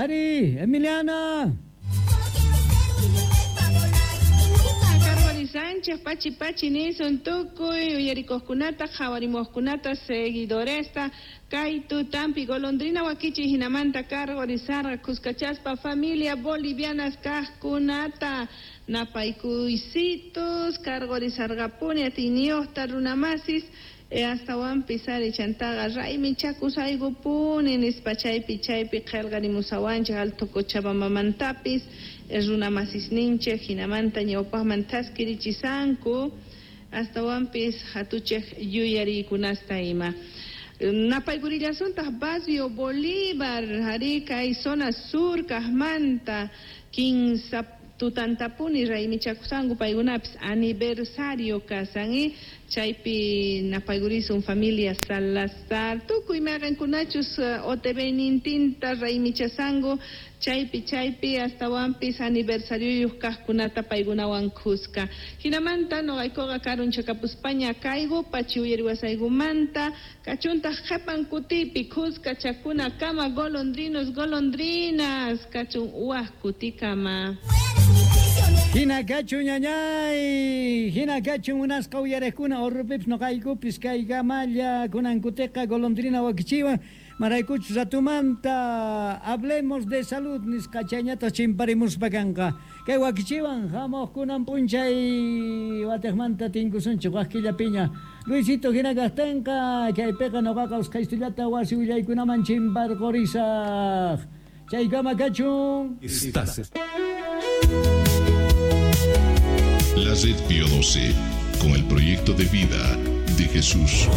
Ari, Emiliana. Sánchez, pachi pachi nisun tukuy uyarikuqkunata qhawarimuqkunata seguidoresta kay tutampi golondrina wakichi hinamanta cargorizarqa kuskachaspa familia bolivianas kaqkunata napaykuysitus cargorizarqapuni atiyniyuqta runamasis astawanpis ari chantaqa raymichakusaykupuni nispa chaypi chaypi qillqarimusawanchik Alto Cochabambamantapis runamasisninchik hinamanta ñawpaqman thaskirichisanku astawanpis hatuchik yuyariykunasta ima. Napaykurillasuntaj Barrio Bolívar, ari kay zona sur kaqmanta kinsa tutantapuni raymichakusanku paykunapis aniversario kasan chaypi napaykurisun familia Salazar tukuy mayqinkunachus OTV nintinta raymichasanku chaypi chaypi astawanpis aniversarioyuq kaqkunata paykunawan kuska. Hinamanta nuqaykuqa karunchakapuspaña kayku pachi uyariwasaykumanta kachuntaq qhipan kutipi kuska chakunakama golondrinos golondrinas kachun wak kutikama. Hina kachun ñañay, hina kachun munasqa uyariqkuna urrupipis nuqaykupis kaykamalla kunankutiqa golondrina wakichiwan maraykuchus ratumanta hablemos de salud nisqa chayñataq chimparimuspa kanqa kay wakichiwan hamuq kunan p'unchay watiqmanta tinkusunchik wak killapiña Luisito hina kaqtinqa kaypiqa nuqaqa usqhaystullata wasi willaykunaman chimparqurisaq chaykama kachun. Estás La Red Pío 12, con el proyecto de vida de Jesús.